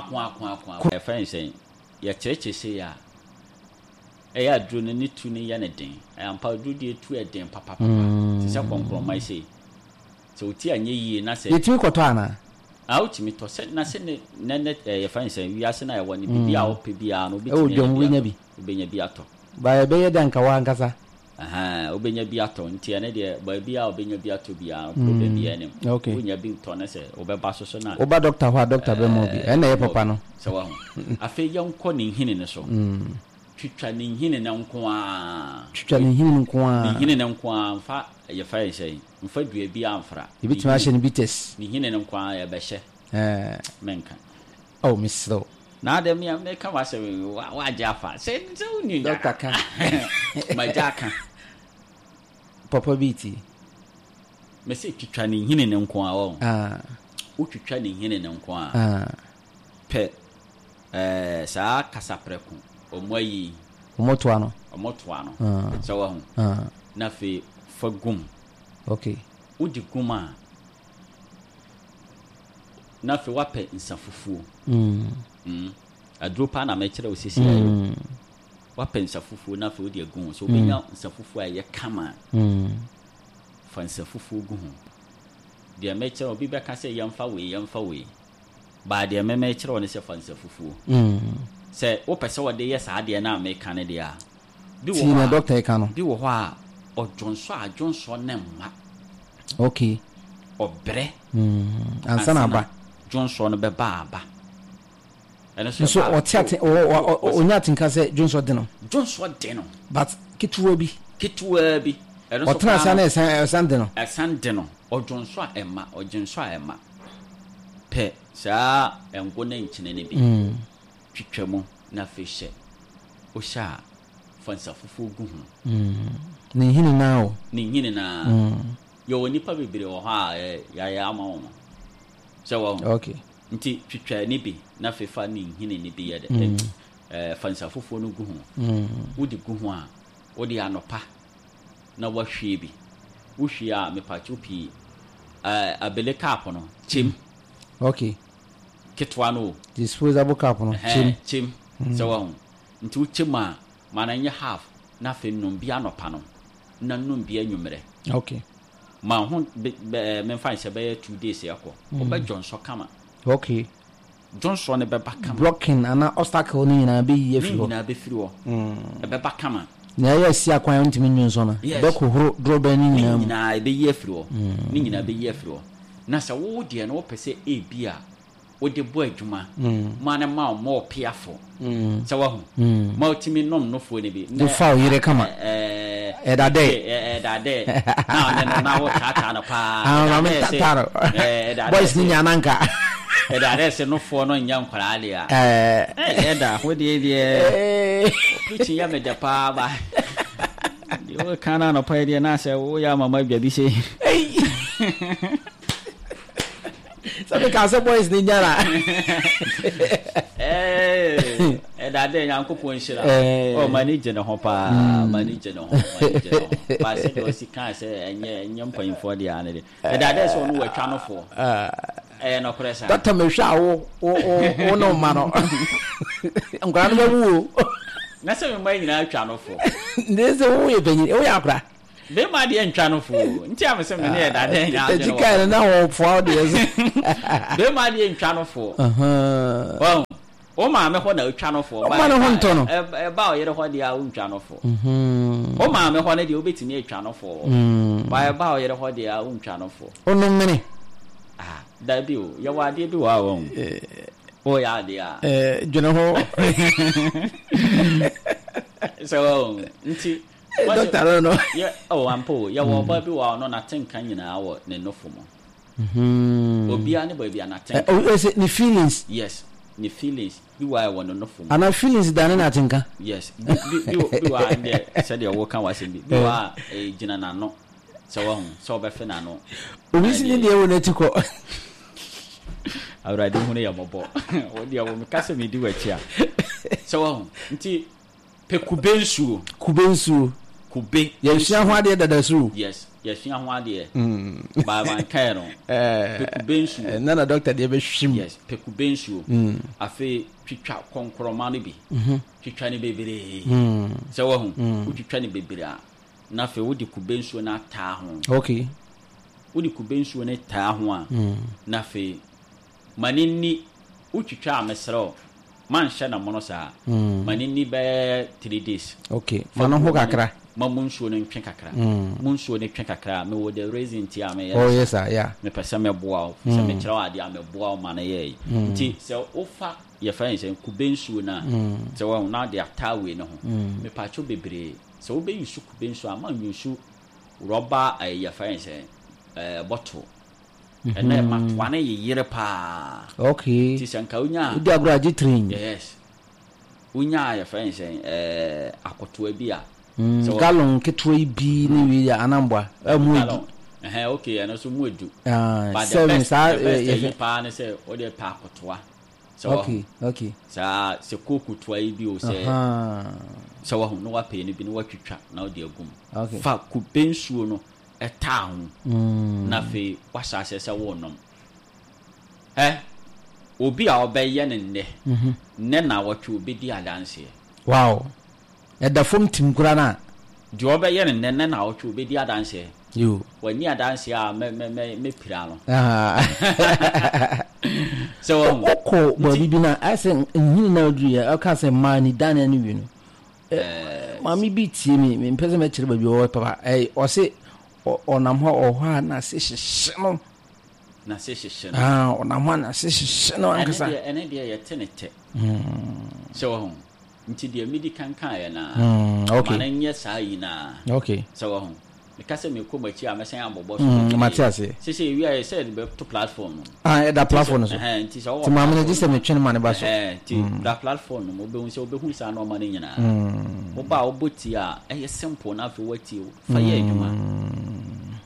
Ako ako ako ako. Yɛfrɛ no sɛn? Yɛkyerɛkyerɛ sei a, ɛyɛ a aduro no ne tu no yɛ no den. Ɛyɛ ampa aduro deɛ tu yɛ den papapapa. Te sɛ kɔnkrɔma yi sei. Sɛ wo ti anyɛ yie na sɛ. Yɛtumi kɔtɔ anaa? Ah, wotumi tɔ. Sɛ na sɛ ne nɛ nɛ ɛɛ yɛfrɛ no sɛn? Wiase no a yɛwɔ no, biribi a wopɛ biara no, Ɛwɔ wobɛtumi anya dwam bi wobɛnya atɔ. bi. Wobɛnya bi atɔ. Ba ɛbɛyɛ dɛ anka w'ankasa. Ahaa, wobɛnya bi atɔ nti ɛno deɛ baabi a wobɛnya bi atɔ biara no problem biara nnim. Okay. Wonya bi tɔ no sɛ wobɛba so so na. Woba doctor hɔ a doctor bɛma wo bi. Ɛno na ɛyɛ Ɛɛ, papa no. Sɛ wahu. Afei yɛnkɔ ne nhini no so. Twitwa ne nhini no nko ara. Twitwa ne nhini no nko ara. Ne nhini no nko ara, mfa yɛfrɛ no sɛn, mfa dua biara mfra. Yɛbɛtumi ahyɛ no bitters. Ne nhini no nko ara yɛbɛhyɛ. Ɛɛ. Menka. Oh, mesrɛ wo. Na adɛn me a meka w'asɛm yi wagye afa sɛ sɛ wonni Doctor ka. Magya aka. Papa bi ti. Mese twitwa ne nhini no nko a wɔn. Ah. Wotwitwa ne nhini no nko a. Ah. Pɛ ɛɛ saa kasaprɛko wɔn ayi. Wɔn toa no. Wɔn toa no. Ah. Sɛ wahu. Ah. Na afei fa gum. Okay. Wodi gum a. Na afei woapɛ nsa fufuo. Mm. Aduro paa na mekyerɛ wo sisi ayɛ. Mm. Woapɛ nsa fufuo na afei wode agu ho. So wobɛnya mm. nsa fufuo a ɛyɛ kama. Mm. Fa nsa fufuo gu ho. Deɛ mekyerɛ obi bɛka sɛ yɛmfa wei yɛmfa wei. Baa deɛ me mekyerɛ wo ne sɛ fa nsa fufuo. Mm. Sɛ wopɛ sɛ wɔde yɛ saa deɛ no a meka no deɛ a. Bi wɔ Tii hɔ na a dɔkta ɛka no. bi wɔ hɔ a ɔdwonsɔ a dwonsɔ no mma. Okay. Ɔbrɛ. Mm, ansa na aba. Dwonsɔ no bɛba aba. Ɛno nso Nso ɛba ɔte ate ɔnya atenka sɛ dwonsɔ de no. Dwonsɔ de no. But ketewa bi. Ketewa bi. Ɛno nso Ɔtena ase koraa na no ɛsan ɛsan de no. ɛsan de no. Ɔdwonsɔ a ɛma, ɔdwonsɔ a ɛma. Pɛ saa ngo ne nkyene no bi. Twitwa mu na afei hyɛ. Wohyɛ a, fa nsa fufuo gu ho. Ne nhini no ara o. Ne nhini no ara. Yɛwɔ nnipa bebree wɔ hɔ a yɛayɛ ama wɔn. Sɛ wahu? Okay. Nti twitwa ne bi na afei fa ne nhini no bi yɛ dɛ. Ɛɛ fa nsa fufuo no gu ho. Wode gu ho a, wode anɔpa na woahwie bi. Wohwie a, mepatwo pii, ɛɛ abele cup no, kyem. Okay. Ketewa no o. Disposable cup no, kyem. Ɛhɛn, kyem. Sɛ wahu? Nti wokyem a, ma no nyɛ half na afei nom bi anɔpa no na nom bi anwummerɛ. Okay. Ma ho be, bɛ, memfa nhyɛ bɛyɛ 2 days ɛkɔ. Wobɛ dwonsɔ kama. Okay. Dwonsɔ no bɛba kama. Blocking anaa obstacle no nyinaa bɛyi Ne afiri hɔ. nyinaa bɛfiri hɔ. Ɛbɛba kama. Nea ɛyɛ asi akwan a wontumi nnwonsɔ no, Yes. ɛbɛhohoro dorobɛn no Ne nyinaa mu. nyinaa ɛbɛyi afiri hɔ. Ne nyinaa bɛyi afiri hɔ. Na sɛ wo deɛ no wopɛ sɛ ebi a wode bɔ adwuma ma no ma wo ma ɔpeafo sɛ wahu ma wotumi nom nofoɔ no bi De fa wo yere kama. Ɛda dɛ. Ɛda dɛ na ɔne no na wotaataa no paa. Ah, Ɛda maame dɛ sɛ- tata no. ɛda dɛ Boys no sɛ- nya nanka. ɛda dɛ sɛ nofoɔ no nyɛ nkwaraa deɛ a Ɛɛ. ɛda ho deɛ deɛ Ee. preaching yɛ me dɛ paa ba deɛ woka no anɔpa yi deɛ na sɛ woyɛ ama ma adwa bi sei. Ei. Sɛ meka sɛ boys no nya na. Ɛda dɛ Nyankopɔn nhyira. Ɛɛ. Oh, m'ani gye ne ho paa. M'ani gye ne ho. M'ani gye ne ho. Ba sɛ deɛ ɔsi kaa sɛ ɛnyɛ ɛnyɛ mpanyinfoɔ deɛ ano de. Ɛda dɛ sɛ ɔno watwa no foɔ. Ɛyɛ nɔkorɛ saa. Dɔkta mehwɛ a wo wo wo wo ne wo mma no. Nkwadaa no bɛwu o. Na sɛ me mma nyinaa atwa no foɔ. Nti sɛ woyɛ panyin, woyɛ akora. Bɛrima deɛ ntwa no fo o. Nti a mesɛ me ne ɛda dɛ nyɛ adwene Tagyi wɔ kae no na wɔfoa wo deɛ so. Bɛrima deɛ ntwa no fo. Wahu? Wo maame hɔ na otwa no fo. Ɔma ne ho ntɔ no. Ɛba ɔyere hɔ deɛ a wontwa no fo. Wo maame hɔ no deɛ wobɛtumi atwa no fo. Ba ɛba ɔyere hɔ deɛ a wontwa no fo. Wonom mene. Ah, dabi o. Yɛwɔ adeɛ bi wɔ hɔ a wahu. Woyɛ adeɛ a. Dwene ho. Sɛ wahu. Nti Dɔkta no no. Yɛ oh ampa o. Yɛwɔ ɔbaa bi wɔ hɔ a ɔno n'atenka nyinaa wɔ ne nofo mu. Obiara ne baabi a n'atenka. Ɛ o sɛ ne feelings. Yes, ne feelings bi wɔ a ɛwɔ ne nofo mu. Anaa feelings dane n'atenka. Yes, bi bi bi bi wɔ a ɛndeɛ sɛdeɛ woka w'asɛm bi bi wɔ a ɛgyina n'ano sɛ wahu sɛ ɔbɛfe n'ano. Obi si ne deɛ wɔ n'ati kɔ. Awurade hunu yɛ mmɔbɔ. Wo deɛ wo meka sɛ medi w'akyi a sɛ wahu nti. Pɛ kube nsuo. Kube nsuo. Kube Yɛsua ho adeɛ dada so. Yes. Yɛasua ho adeɛ. But mankae no. Pɛ kube nsuo. Ɛnna na dɔkta deɛ bɛhwim. Yes, pɛ kube nsuo. Afei twitwa kɔnkorɔma no bi. Twitwa no bebree. Sɛ wahu? Wotwitwa no bebree a, na afei wode kube nsuo no ataa ho. Okay. Wode kube nsuo no taa ho a, na afei ma no nni, wotwitwa a mesrɛ wo, manhyɛ no mono saa. Ma no nni bɛyɛ 3 days. Okay. Ma no ho kakra. Ma mu nsuo no ntwe kakra. Mu nsuo no twe kakra a, mewɔ the reason nti a meyɛ Oh no yes saa. Sir, yeah. Mepɛ sɛ meboa wo. Sɛ mekyerɛ wo adeɛ a, meboa wo ma no yɛ yi. Nti sɛ wofa yɛfrɛ no sɛ kube nsuo no a, sɛ wahu na wode ataa wei no ho. Mepaakyɛw bebree, sɛ wobɛ use kube nsuo a, ma use rɔba ɛyi yɛfrɛ no sɛ ɛɛ bottle. Ɛnna ɛma toa no yeyere paa. Okay. Nti sɛ nka wonya Wodi agorɔ agye train. Yes. Wonya yɛfrɛ no sɛ ɛɛ akotoa bi a. Sɛ Gallon ketewa yi bi ne wei yɛ anamboa. Mu edu. Gallon. Ɛhɛn, okay, ɛno nso mu edu. Ah, But the seven best, saa the best yɛfrɛ. ɛyi paa ne sɛ wode pɛ akotoa. Sɛ wahu. Saa sɛ kooko toa yi bi o sɛ sɛ wahu na wapɛ no bi na watwitwa na wode agu mu. Fa kube nsuo no ɛtaa ho. Na afei wahyɛ aseɛ sɛ worenom. Ɛ obi a ɔbɛyɛ no nnɛ, nnɛ nnawɔtwe obɛdi adanseɛ. Wow. Ɛda fam tim koraa na. Deɛ ɔbɛyɛ no nnɛ, nnɛ nnawɔtwe obɛdi adanseɛ. Yo. Wanni adanseɛ a mɛ mɛ mɛ mɛpira no. Sɛ wahu. Wokɔ baabi bi na ayɛ sɛ nhini na aduru yɛ ɔka sɛ mmaa ni dan ne wie no. Maame bi tie mi, mempɛ sɛ mɛkyerɛ baabi ɔwɔ papa. Ɔse ɔnam hɔ ɔwɔ hɔ a n'ase hyehye no. N'ase hyehye no. Ah, ɔnam hɔ a n'ase hyehye no ankasa. Ɛne deɛ ɛne deɛ yɛte ne tɛ. Sɛ wahu. Nti deɛ medi kan kaeɛ no ara. Okay. Ma no nyɛ saa yi no ara. Okay. Sɛ wahu. Meka sɛ mekɔ m'akyi a mɛsan abɔbɔ so bebree. Mate aseɛ. Sese ewie a sɛ yɛde bɛto platform no. Ah, ɛda platform no so. Ɛhɛn, nti sɛ wɔwɔ Nti maame no gye sɛ metwe no ma ne ba so. Ɛhɛn, nti da platform no mu wobɛhu sɛ wobɛhu saa nneɛma no nyinaa. Woba a wobɔ tie a ɛyɛ simple na afei woatie o. Fa yɛ adwuma.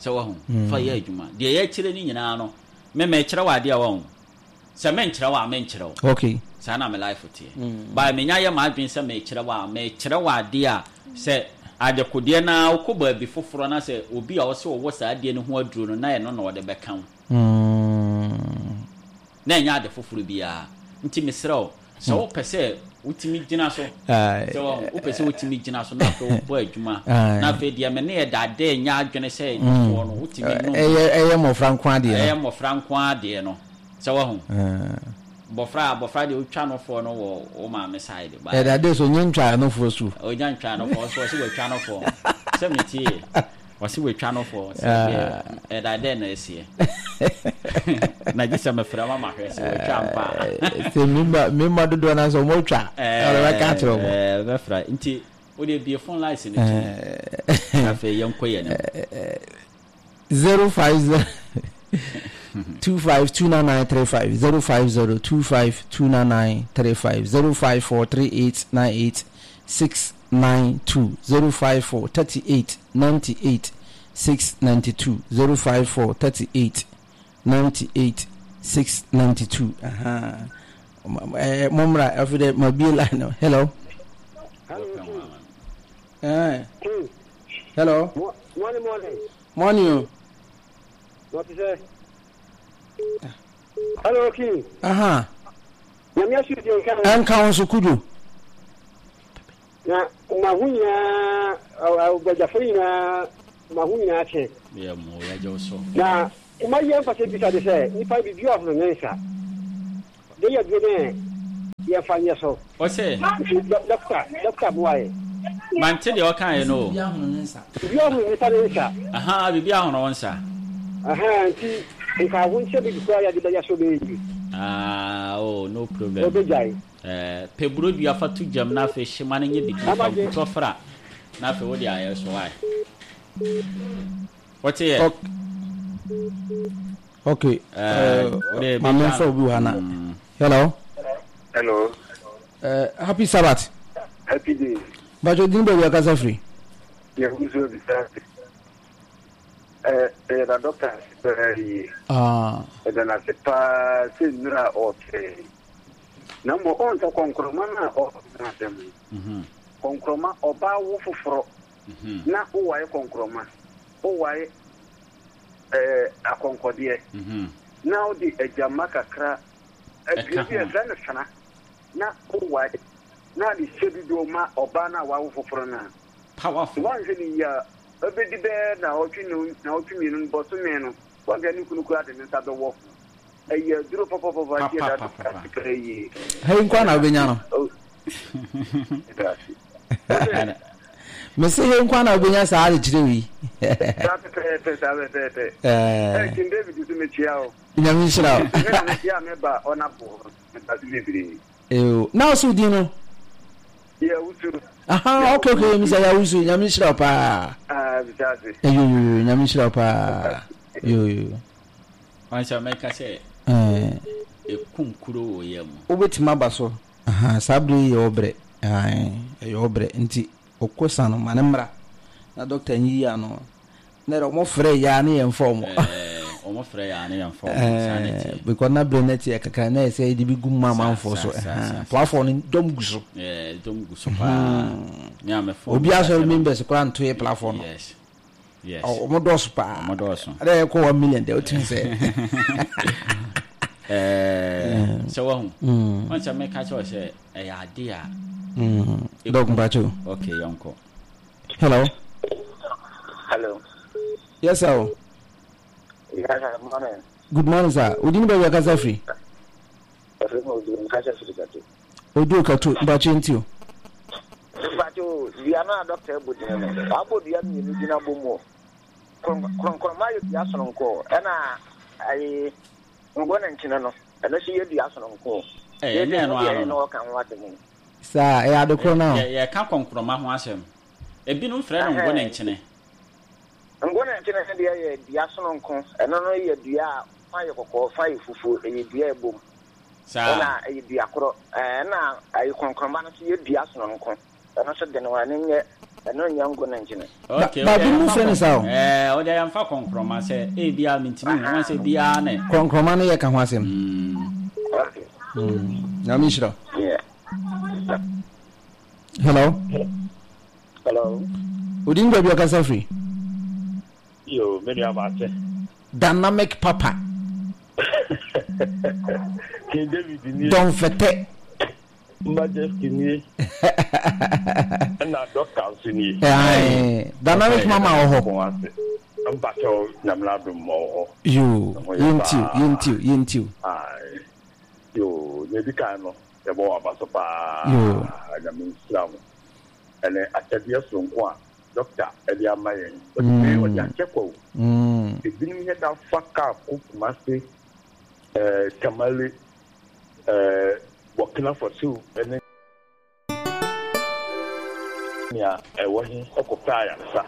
Sɛ wahu, fa yɛ adwuma. Deɛ yɛkyerɛ no nyinaa no, me mekyerɛ wo adeɛ a wahu. Sɛ menkyerɛ wo a menkyerɛ wo. Okay. Saa na me life teɛ. But menya yɛ m'adwene sɛ mekyerɛ wo a, mekyerɛ wo adeɛ a sɛ adekodeɛ no ara wokɔ baabi foforɔ na sɛ obi a ɔse ɔwɔ saa adeɛ no ho aduro no na ɛno na ɔde bɛka wo. Na ɛnyɛ ade foforɔ biara. Nti mesrɛ wo, sɛ wopɛ sɛ wotumi gyina so, sɛ wahu, wopɛ sɛ wotumi gyina so na afei wobɔ adwuma, na afei deɛ me ne ɛda dɛ nyɛ adwene sɛ nufoɔ no wotumi nom. Ɛyɛ mmɔfra nko adeɛ no. Ɛyɛ mmɔfra nko adeɛ no. Sɛ wahu. Mmɔfra abɔfra deɛ wotwa nofoɔ no wɔ wo maame side. Ɛda de so onye ntwa nofoɔ su. Onya ntwa nofoɔ so ɔsi watwa nofoɔ. Sɛ metie ɔsi watwa nofoɔ sɛ deɛ ɛda dɛ na ɛseɛ. Na gye sɛ mefrɛ ma mahwɛ sɛ watwa mpa. Sɛ mmarima dodoɔ no sɛ ɔmo atwa. Ɛna bɛka akyerɛ ɔmo. Ɛɛ bɛfra nti wode bie phone lines no tu. Afei yɛnkɔ yɛn anim. 050 2529935 050 2529935 054 3898 692 054 38 98 692 054 38 98 692. Aha. Mommra afei dɛ mabie line no. Hello. Hello. Hello. Morning, morning. Morning o. What is it? Hello, King. Aha. Nyame asu di nka. Ɛnka wo nso kudu. Na ma ho nyinaa agbadwafo nyinaa ma ho nyinaa kyɛ. Yɛ mo yɛgye wo so. Na ma yɛ mfa sɛ bisa de sɛ nipa bibi ɔhono ne nsa. De yɛ duro ne yɛmfa nyɛ so. Ɔsɛ. Dɔkta dɔkta boa yɛ. Mante deɛ ɔkaeɛ no o. Bibi ahono ne nsa. Bibi ahono nipa ne nsa. Aha bibi ahono wo nsa. Aha nti nka ho nkyɛ bibi koraa yɛde bɛyɛ so bɛyɛ yie. Ah oh no problem. Ɔbɛgyae. Eh, pɛ burodua fa to gyam na afei hyema no nyɛ bidie fa nkutɔ fra na afei wode ayɛ so wae. Wote yɛ? Okay. Eh, wode Maame nfa obi wɔ ha na. Hello. Hello. Happy Sabbath. Happy day. Bàtò dín baabi akasa firi. Yɛ wusu bisa. Ɛyɛ na dɔkta ase paa yie. Ɛda n'ase paa sɛ nnura a ɔɔkyerɛ. Na mmom ɔn sɛ kɔnkrɔma no a ɔɔka ho asɛm no, kɔnkrɔma ɔbaa wo foforɔ na wowae kɔnkrɔma, wowae. ɛɛ akɔnkɔdeɛ na wode agyamma kakra dua bi a yɛfrɛ no fena na wowae na ade hyɛ dodoɔ ma ɔbaa no a wawo foforɔ no a, Powerful. woanhwɛ no yie a, ɛbɛdi bɛyɛ naawɔtwe naawɔtwe mmienu no, bɔsome no, woanhwɛ a ne kunu koraa de ne nsa bɛwɔ ho. Ɛyɛ aduro papapapa nti yɛda Papa, ase papa. paa yie. Ha yi nkoa na wobɛnya no. Oh, yɛda ase. Wose, Mese he nkoa na wobɛnya saa adekyerɛ wei. saa pɛpɛɛpɛ, saa pɛpɛɛpɛ. Eh, King David nso mekyia wo. Nyame nhyira wo. Me na mekyia me ba ɔnabo hɔ. Meda ase bebree. Eyo. Na wo so din no? Yawusu. Aha, okay, okay, Mr. Yawusu, Nyame nhyira wo paa. Ah, bisa ase. Eyo, yo, yo, Nyame nhyira wo paa. Yo, yo. Wansa mɛka sɛ ekum kuro wɔ yɛ mu. Wobɛtumi aba so. Aha, saa berɛ yi yɛ ɔbrɛ. Ɛyɛ ɔbrɛ nti ɔkɔ sa no ma ne mmra na dɔkta nyiyi ano. Na yɛrɛ ɔmo frɛ yaa ne yɛn fa ɔmo. Ɔmo frɛ yaa ne yɛn fa ɔmo saa na ɛteɛ. Because na bere na ɛteɛ kakra na ɛsɛ yɛde bi gu mu amanfoɔ so. Platform no dɔm gu so. Dɔm gu so paa. Me a me phone. Obi asɔre members koraa nto yɛ platform no. Yes. Yes. Ɔmo dɔɔso paa. Ɔmo dɔɔso. Ɛdɛ yɛ kɔ 1 million deɛ otumi sɛ. Sɛ wahu. Wɔn sɛ meka kyerɛ sɛ ɛyɛ ade a. Dɔk mpacho. Okay, yɔnkɔ. Hello. Hello. Yes, sir. Yes, sir. Good morning. Good morning, sir. Odi ni baabi akasa firi. Ɛfiri mu odi nkasa firi Kato. Odi Kato, mpacho nti o. Mpacho, dua no a dɔkta abu din no, wabɔ dua mmienu din abɔ mu o. Korɔnkorɔma yɛ dua sononko, ɛna ayi ngo ne nkyene no, ɛno nso yɛ dua sononko. Ɛyɛ ne ɛno ano no. Ɔka ho asɛm. Saa, ɛyɛ ade korɔ no. Yɛka kɔnkorɔma ho asɛm. Ebinom frɛ no ngo ne nkyene. Ngo ne nkyene no deɛ yɛ dua sononko. Ɛno no yɛ dua a fa yɛ kɔkɔɔ, fa yɛ fufuo. Ɛyɛ dua a ɛbom. Saa. Ɛna ɛyɛ dua korɔ. Ɛna ayi kɔnkorɔma no nso yɛ dua sononko. Ɛno nso de no ɛno nyɛ ɛno nyɛ ngo ne nkyene. Okay, Ba bi mu frɛ no saa o. Ɛɛ, ɔde yɛmfa kɔnkorɔma sɛ ebi a mintimi hu wɔn sɛ biara ne. Kɔnkorɔma no yɛ ka ho asɛm. Okay. Nyame nhyira. Yeah. Hello. Hello. Odi ni baabi ɔkasa firi. Yo, me nua maate. Dynamic Papa. King David nie. Don Fete. Majesty nie. Ɛna Doctor nso nie. Dynamic Mama wɔ hɔ. Mpakyɛw Nyame adom wɔ hɔ. Yo, yɛntiw, yɛntiw, yɛntiw. Yo, nea edi kan no, yɛbɔ wɔ aba so paa. Yo. Nyame nhyira mo. Ɛne akyɛdeɛ soronko a dɔkta de ama yɛn. Ɔde wei ɔde akyɛ kwa o. Ebinom yɛ da fa kaa kɔ Kumasi, Tamale, Burkina Faso ne nea ɛwɔ he kɔpɛ ayaresa.